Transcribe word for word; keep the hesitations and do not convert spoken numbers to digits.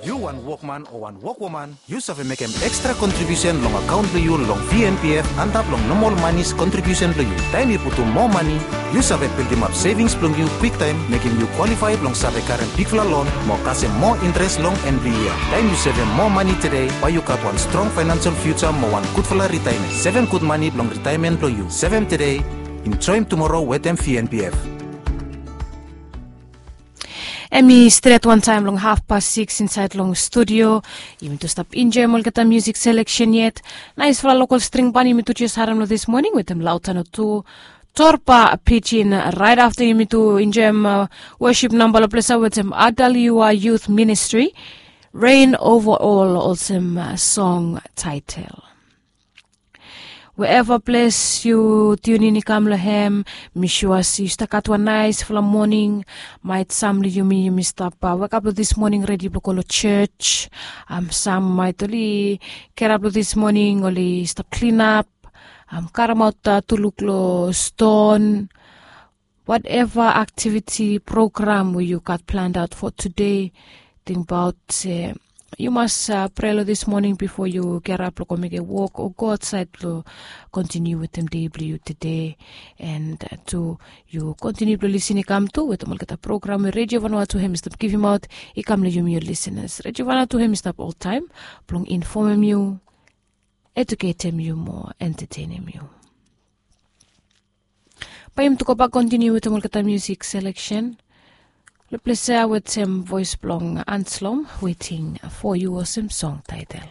Yu wan wokman o wan wokwoman, yu save mekem ekstra kontribiusen long akaon blong yu long V N P F antap long nomol manis kontribiusen blong yu. Taem yu putum moa mani, yu save bildimap sevings blong yu kwiktaem, mekem yu kwalifai blong save karem bigfala lon mo kasem moa interes long en blong yia. Taem yu sevem moa mani tede, bae yu gat wan strong faenansel fiuja mo wan gudfala ritaemen. Sevem gud mani blong ritaemen blong yu. Sevem tede, enjoem tumoro wetem V N P F. Em i stret wantaem long hafpas sikis insaed long studio. Yumi tu stap enjoem olgeta musik seleksen yet. Naesfala lokol string ban yumi tu jes harem long dis moning wetem Lautano tu, Torba Pijin. Raet afta yumi tu enjoem wosip namba long ples ya wetem Adaliwa Youth Ministry, Reign Over All, olsem song taetel. Weeva ples yu tiunin i kam long hem, mi sua se yu stap gat wan naesfala moning. Maet sam long yumi, yumi stap wekap long dis moning redi blong go long jos. Sam maet oli gerap long dis moning, oli stap klinap, karemaot tuluk long ston. Wateva aktiviti program we yu gat planaot fo tede, tingbaot se yu mas prea long dis moning bifo yu gerap blong go mekem wok o go aotsaed blong kontiniu wetem dei blong yu tede. En tu yu kontiniu blong lisin i kam tu wetem olgeta program we Redio Vanuatu hem i stap givimaot i kam long yumi ol lisinas. Redio Vanuatu hem i stap oltaem blong infomem yu, eduketem yu mo entetenem yu. Bae yumi tu gobak kontiniu wetem olgeta musik seleksen long ples ya wetem voes blong Anslom, Waiting for You, olsem song taetel.